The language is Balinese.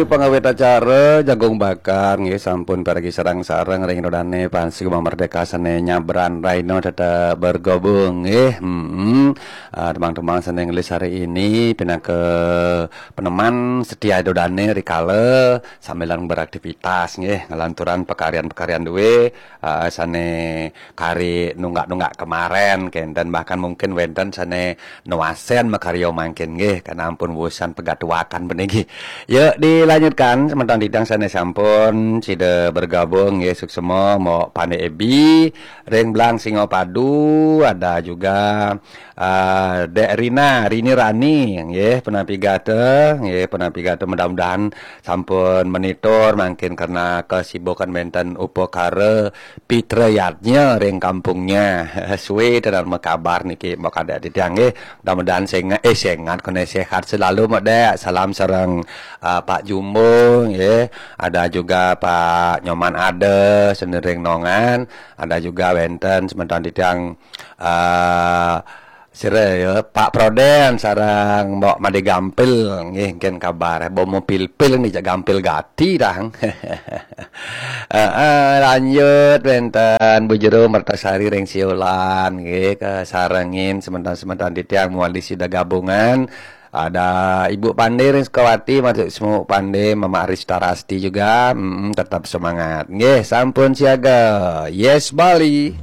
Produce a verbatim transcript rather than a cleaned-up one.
Pangawit acara jagung bakar nggih, sampun pargi sareng-sareng ring ida dane Pansik Merdeka sane nyabran raina tetep bergabung nggih. Hmm. Ah, temang-temang sane ngelis hari ini pinaka peneman setia ida dane rikala sambilan beraktivitas nggih, ngelanturan pekaryan-pekaryan duwe, ah, sane kari nunggak-nunggak kemaren kenten, bahkan mungkin wenten sane nuasen makarya mangkin nggih, karena ampun wusan pegatuakan puniki. Yuk dilanjutkan semeton titiang sane sampun sida bergabung nggih, suksema Mbok Pande Ebi ring Blang Singapadu, ada juga ah, Dek Rina, Rini Rani nggih, penampi gata nggih, penampi gata, mudah-mudahan sampun monitor mangkin karena kesibukan wenten upakara pitrayatnya ring kampungnya. Suwe tenan makabar niki Mbok Kadek titiang nggih. Mudah-mudahan sengat, eh, sengat kena sehat selalu Mbok Dek. Salam sareng, ah, Pak Jumbo nggih. Ada juga Pak Nyoman Ada sane ring Nongan. Ada juga wenten semeton titiang, ah, sira ya, Pak Proden sareng Mbok Made Gampil nggih, engken kabar. Bomo pilpil ni jak gampil gati dang. Heeh, lanjut wenten Bu Jero Mertasari ring Siolan nggih, kasarengin semeton-semeton titiang muali sida gabungan. Ada Ibu Pande ring Sukawati, masuk semua Pande, Mama Arista Rasti juga. Mm, tetap semangat. Nggih, sampun siaga. Yes, Bali.